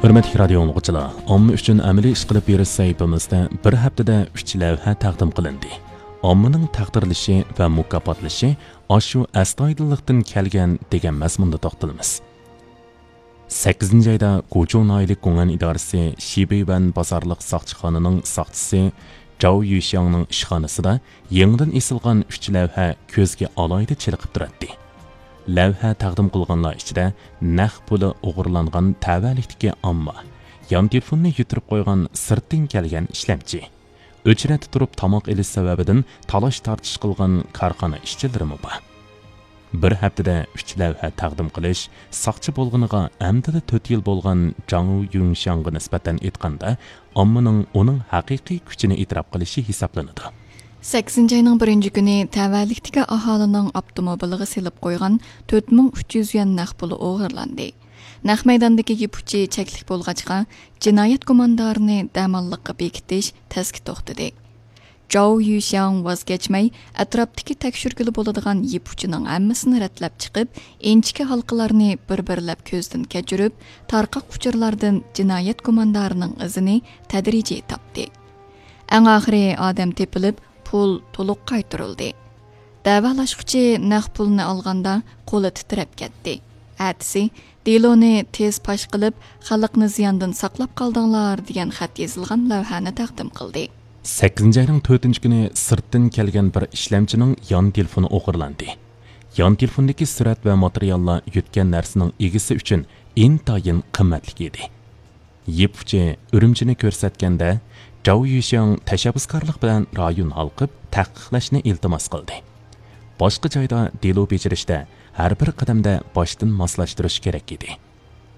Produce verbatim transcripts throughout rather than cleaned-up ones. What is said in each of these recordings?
ھۆرمەتلىك رادىيو ئاڭلىغۇچىلار، ئامما ئۈچۈن ئەمەلىي ئىش قىلىپ بېرىش سەھىپىمىزدە بىر ھەپتىدە ئۈچ لەۋھە تەقدىم قىلىندى. ئاممىنىڭ تەقدىرلىشى ۋە مۇكاپاتلىشى ئاشۇ ئەستايىدىللىقتىن كەلگەن دېگەن مەزمۇندا توختىلىمىز. سەككىزىنچى ئايدا گۇچۇڭ ناھىيەلىك گۇڭئەن ئىدارىسى شىبىيۈەن بازارلىق ساقچىخانىنىڭ ساقچىسى جاۋ يۈشياڭنىڭ ئىشخانىسىدا يېڭىدىن ئېسىلغان ئۈچ لەۋھە كۆزگە ئالاھىدە چېلىقىپ تۇراتتى. لەۋھە تەقدىم قىلغانلار ئىچىدە نەق پۇلى ئوغرىلاندىن تەۋەلىكتىكى ئامما، يان تېلېفوننى يىتىرىپ قويغان سىرتتىن كەلگەن ئىشلەمچى، ئۆچرەتتە تۇرۇپ تاماق ئېلىش سەۋەبىدىن تالاش-تارتىش قىلغان كارخانا ئىشچىلىرىمۇ بار. بىر ھەپتىدە ئۈچ لەۋھە تەقدىم قىلىش ساقچى بولغىنىغا ئەمدىلا تۆت يىل بولغان جاڭ يۈڭشياڭغا نىسبەتەن ئېيتقاندا، ئاممىنىڭ ئۇنىڭ ھەقىقىي كۈچىنى ئېتىراپ قىلىشى ھېسابلىنىدۇ. سەككىزىنچى ئاينىڭ بىرىنچى كۈنى تەۋەلىكتىكى ئاھالىنىڭ ئاپتوموبىلىغا سېلىپ قويغان تۆت مىڭ ئۈچ يۈز يۈەن نەق پۇلى ئوغرىلاندى. نەق مەيداندىكى يىپ ئۇچى چەكلىك بولغاچقا، جىنايەت گۇماندارىنى دەماللىققا بېكىتىش تەسكە توختىدى. جاۋ يۈشياڭ ۋاز كەچمەي، ئەتراپتىكى تەكشۈرگىلى بولىدىغان يىپ ئۇچىنىڭ ھەممىسىنى رەتلەپ چىقىپ، ئىنچىكە ھالقىلارنى بىر-بىرلەپ كۆزدىن كەچۈرۈپ، تارقاق ئۇچۇرلاردىن جىنايەت گۇماندارىنىڭ ئىزىنى تەدرىجىي تاپتى. ئەڭ ئاخىرى ئادەم تېپىلىپ، پۇل تولۇق قايتۇرۇلدى. دەۋالاشقۇچى نەق پۇلنى ئالغاندا قولى تىترەپ كەتتى. ئەتىسى دېلونى تېز پاش قىلىپ، خەلقنى زىياندىن ساقلاپ قالدىڭلار دېگەن خەت يېزىلغان لەۋھەنى تەقدىم قىلدى. سەككىزىنچى ئاينىڭ تۆتىنچى كۈنى سىرتتىن كەلگەن بىر ئىشلەمچىنىڭ يان تېلېفونى ئوغرىلاندى. يان تېلېفوندىكى سۈرەت ۋە ماتېرىياللار يۆتكەن نەرسىنىڭ ئىگىسى ئۈچۈن ئىنتايىن قىممەتلىك ئىدى. يىپ ئۇچى ئۈرۈمچىنى كۆرسەتكەندە، جاۋ يۈشياڭ تەشەببۇسكارلىق بىلەن رايون ھالقىپ تەھقىقلەشنى ئىلتىماس قىلدى. باشقا جايدا دېلو بېجىرىشتە ھەر بىر قەدەمدە باشتىن ماسلاشتۇرۇش كېرەك ئىدى.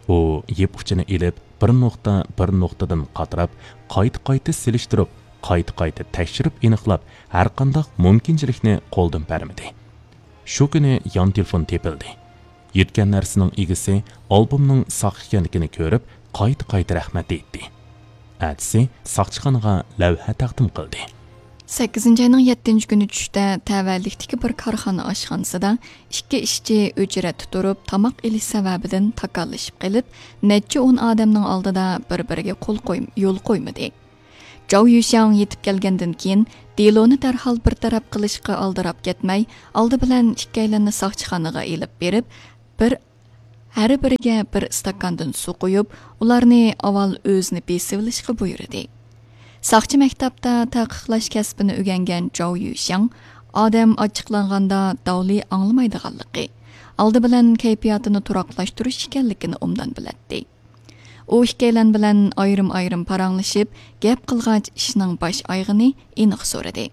ئۇ يىپ ئۇچىنى ئېلىپ، بىر نۇقتا بىر نۇقتىدىن قاتراپ، قايتا-قايتا سېلىشتۇرۇپ، قايتا-قايتا تەكشۈرۈپ ئېنىقلاپ، ھەرقانداق مۇمكىنچىلىكنى قولدىن بەرمىدى. شۇ كۈنى يان تېلېفون تېپىلدى. يۆتكەن نەرسىنىڭ ئىگىسى ئالبومنىڭ ساختا ئىكەنلىكىنى كۆرۈپ، قايتا-قايتا رەھمەت ئېيتتى. ئەتىسى ساقچىخانىغا لەۋھە تەقدىم قىلدى. سەككىزىنچى ئاينىڭ يەتتىنچى كۈنى چۈشتە تەۋەلىكتىكى بىر كارخانا ئاشخانىسىدا ئىككى ئىشچى ئۆچرەتتە تۇرۇپ تاماق ئېلىش سەۋەبىدىن تاكاللىشىپ قېلىپ، نەچچە ئون ئادەمنىڭ ئالدىدا بىر-بىرىگە قول قوي-، يول قويمىدى. جاۋ يۈشياڭ يېتىپ كەلگەندىن كېيىن، دېلونى دەرھال بىر تەرەپ قىلىشقا ئالدىراپ كەتمەي، ئالدى بىلەن ئىككىيلەننى ساقچىخانىغا ئېلىپ بېرىپ، بىر، ھەر بىرىگە بىر ئىستاكاندىن سۇ قۇيۇپ، ئۇلارنى ئاۋۋال ئۆزىنى بېسىۋېلىشقا بۇيرۇدى. ساقچى مەكتەپتە تەقىقلەش كەسپىنى ئۆگەنگەن جاۋ يۈشياڭ ئادەم ئاچچىقلانغاندا داۋلى ئاڭلىمايدىغانلىقى، ئالدى بىلەن كەيپىياتىنى تۇراقلاشتۇرۇش ئىكەنلىكىنى ئوبدان بىلەتتى. ئۇ ئىككىيلەن بىلەن ئايرىم-ئايرىم پاراڭلىشىپ، گەپ قىلغاچ ئىشنىڭ باش ئايىغىنى ئېنىق سورىدى.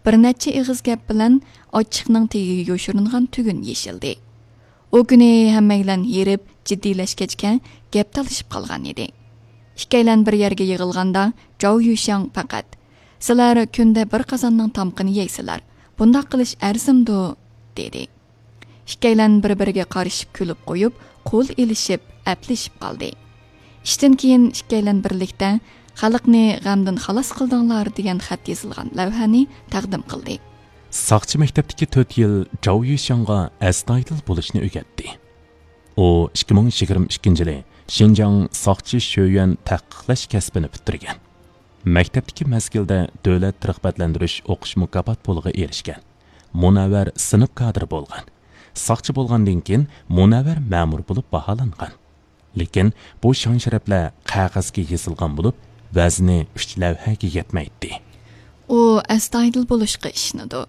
بىر نەچچە ئېغىز گەپ بىلەن ئاچچىقنىڭ تېگىگە يوشۇرۇنغان تۈگۈن يېشىلدى. ئۇ كۈنى ھەممەيلەن ھېرىپ، جىددىيلەشكەچكە گەپ تالىشىپ قالغان ئىدى. ئىككىيلەن بىر يەرگە يىغىلغاندا، جاۋ يۈشياڭ پەقەت، «سىلەر كۈندە بىر قازاننىڭ تامىقىنى يەيسىلەر، بۇنداق قىلىش ئەرزىمدۇ؟» دېدى. ئىككىيلەن بىر-بىرىگە قارىشىپ كۈلۈپ قويۇپ، قول ئېلىشىپ، ئەپلىشىپ قالدى. ئىشتىن كېيىن ئىككىيلەن بىرلىكتە «خەلقنى غەمدىن خالاس قىلدىڭلار» دېگەن خەت يېزىلغان لەۋھەنى تەقدىم قىلدى. ساقچى مەكتەپتىكى تۆت يىل جاۋ يۈشياڭغا ئەستايىدىل بولۇشنى ئۆگەتتى. ئۇ ئىككى مىڭ يىگىرمە ئىككىنچى يىلى شىنجاڭ ساقچى شۆيۈەن تەھقىقلەش كەسپىنى پۈتتۈرگەن. مەكتەپتىكى مەزگىلدە دۆلەت رىغبەتلەندۈرۈش ئوقۇش مۇكاپات پۇلىغا ئېرىشكەن. مۇنەۋۋەر سىنىپ كادىرى بولغان. ساقچى بولغاندىن كېيىن مۇنەۋۋەر مەمۇر بولۇپ باھالانغان. لېكىن بۇ شان-شەرەپلەر قەغەزگە يېزىلغان بولۇپ، ۋەزنى ئۈچ لەۋھەگە يەتمەيتتى. ئۇ ئەستايىدىل بولۇشقا ئىشىنىدۇ.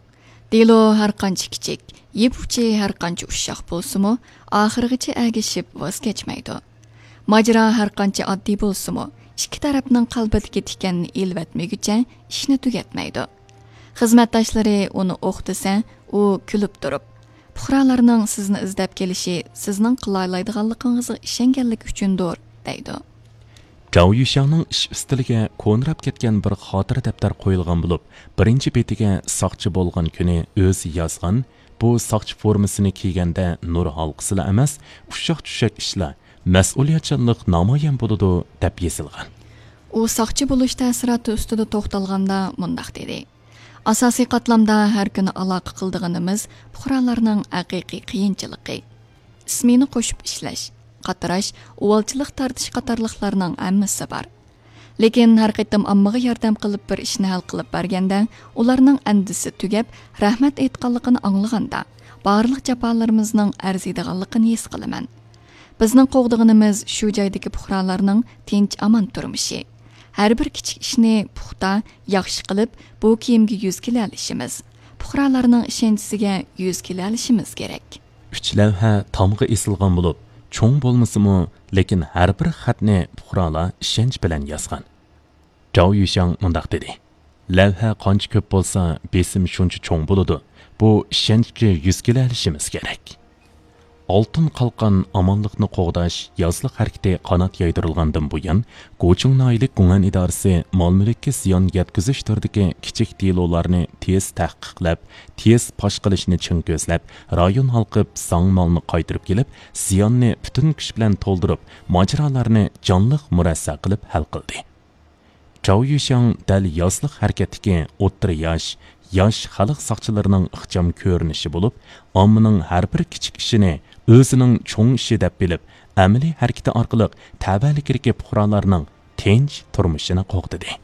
دېلو ھەرقانچە كىچىك، يىپ ئۇچى ھەرقانچە ئۇششاق بولسىمۇ، ئاخىرغىچە ئەگىشىپ ۋاز كەچمەيدۇ. ماجىرا ھەرقانچە ئاددىي بولسىمۇ، ئىككى تەرەپنىڭ قەلبىدىكى تىكەننى ئېلىۋەتمىگۈچە ئىشنى تۈگەتمەيدۇ. خىزمەتداشلىرى ئۇنى ئوق دېسە، ئۇ كۈلۈپ تۇرۇپ، «پۇقرالارنىڭ سىزنى ئىزدەپ كېلىشى سىزنىڭ قىلالايدىغانلىقىڭىزغا ئىشەنگەنلىكى ئۈچۈندۇر» دەيدۇ. جاۋ يۈشياڭنىڭ ئىش ئۈستىلىگە كونىراپ كەتكەن بىر خاتىرە دەپتەر قويۇلغان بولۇپ، بىرىنچى بېتىگە ساقچى بولغان كۈنى ئۆزى يازغان، بۇ ساقچى فورمىسىنى كىيگەندە نۇر ھالقىسىلا ئەمەس، ئۇششاق-چۈششەك ئىشلار، مەسئۇلىيەتچانلىق نامايان بولىدۇ، دەپ يېزىلغان. ئۇ ساقچى بولۇش تەسىراتى ئۈستىدە توختالغاندا مۇنداق دېدى: «ئاساسىي قاتلامدا ھەر كۈنى ئالاقە قىلىدىغىنىمىز پۇقرالارنىڭ ھەقىقىي قىيىنچىلىقى. ئىسمېنا قوشۇپ ئىشلەش، قاتراش، ئۇۋالچىلىق تارتىش قاتارلىقلارنىڭ ھەممىسى بار. لېكىن ھەر قېتىم ئاممىغا ياردەم قىلىپ بىر ئىشنى ھەل قىلىپ بەرگەندە، ئۇلارنىڭ ئەندىزىسى تۈگەپ، رەھمەت ئېيتقانلىقىنى ئاڭلىغاندا، بارلىق جاپالىرىمىزنىڭ ئەرزىيدىغانلىقىنى ھېس قىلىمەن. بىزنىڭ قوغدىغىنىمىز شۇ جايدىكى پۇقرالارنىڭ تىنچ-ئامان تۇرمۇشى. ھەر بىر كىچىك ئىشنى پۇختا، ياخشى قىلىپ، بۇ كىيىمگە يۈز كېلەلىشىمىز، پۇقرالارنىڭ ئىشەنچىسىگە يۈز كېلەلىشىمىز كېرەك. ئۈچ لەۋھە تامغا ئېسىلغان بولۇپ، چوڭ بولمىسىمۇ، لېكىن ھەر بىر خەتنى پۇقرالار ئىشەنچ بىلەن يازغان. جاۋ يۈشياڭ مۇنداق دېدى: لەۋھە قانچە كۆپ بولسا، بېسىم شۇنچە چوڭ بولىدۇ. بۇ ئىشەنچكە يۈز كېلەلىشىمىز كېرەك. ئالتۇن قالقان ئامانلىقنى قوغداش يازلىق ھەرىكىتى قانات يايدۇرۇلغاندىن بۇيان، گۇچۇڭ ناھىيەلىك گۇڭئەن ئىدارىسى مال-مۈلۈككە زىيان يەتكۈزۈش تۈرىدىكى كىچىك دېلولارنى تېز تەھقىقلەپ، تېز پاش قىلىشنى چىڭ كۆزلەپ، رايون ھالقىپ زاڭ مالنى قايتۇرۇپ كېلىپ، زىياننى پۈتۈن كۈچ بىلەن تولدۇرۇپ، ماجىرالارنى جانلىق مۇرەسسە قىلىپ ھەل قىلدى. جاۋ يۈشياڭ دەل يازلىق ھەرىكەتتىكى ئوتتۇرا ياش، ياش خەلق ساقچىلىرىنىڭ ئىخچام كۆرۈنۈشى بولۇپ، ئاممىنىڭ ھەر بىر كىچىك ئىشىنى ئۆزىنىڭ چوڭ ئىشى دەپ بىلىپ، ئەمەلىي ھەرىكىتى ئارقىلىق تەۋەلىكىدىكى پۇقرالارنىڭ تىنچ تۇرمۇشىنى قوغدىدى.